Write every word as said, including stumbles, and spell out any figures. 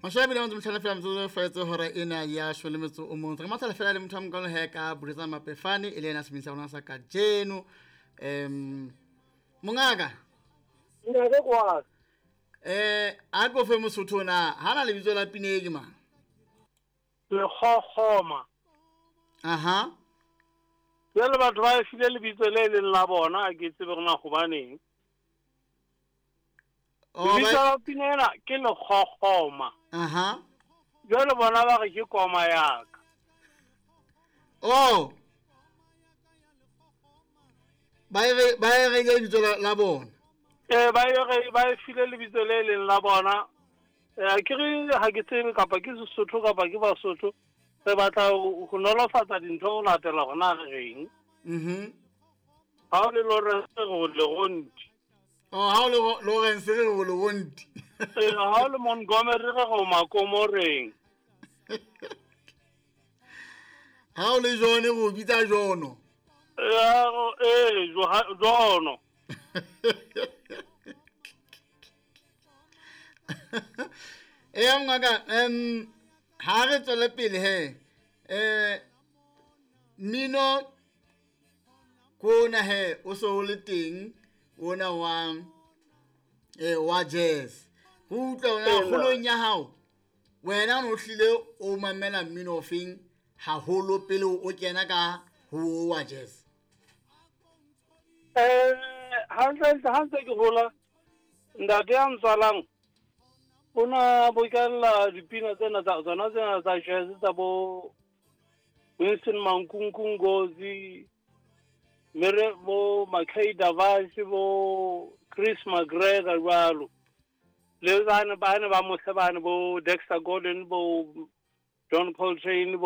Mashome a mabedi a metso e mehlano fela metsotso e fetse hora ena ya shome le metso o mong. Re matha fela le motho a mokalo he ka Buletsa Mapefane e le yena sebini sa rona sa kajeno. Um mongaka. Ntate kwa. Eh a ko fe Mosotho na hana lebitso la pina e ke mang? Lekgokgoma. Aha. Jwale batho ba e file lebitso le leng la bona, ha ke tsebe hore na hobaneng. Oh, Lebitso ba- la pina ena ke Lekgokgoma. Aha. Jwale bona ba re ke koma ya ka. Oh. Ba e re, ba e reile lebitso la, la bona. Eh, ba e re, ba e file lebitso le leng la bona. Eh, ke re ha ke tsebe kapa ke Sesotho kapa ke Basotho. Re batla ho, ho nolofatsa dintho ho latela hore na re reng. Mhm. Ha o le Lawrence re o Leronti. Oh, ha o le Ro-, Lawrence re o Leronti. Eh, ha o le Montgomery re re o Makomoreng. Ha o le John re o bitsa Jono. Eh, eh, Joha-, Jono. Eh, ngaka, em, ha re tswele pele he. Eh, mmino kona he o so o le teng ona wa, eh, wa jazz. Ho utlwa hore na Ee, kgolong ya hao wena o no hlile o mamela mmino ofeng haholo pele o kena ka ho wa jazz? Eh, hantle, hantle, ha ntse ke hola, ntate ya ntswalang o na bokella dipina tsena tsa tsona tsena tsa jazz tsa bo Winston Mankunku Ngozi, Mere bo Mackay Davash, bo Chris McGregor jwalo. Le bana ba ne ba mose bane bo Dexter Gordon, bo John Coltrane, bo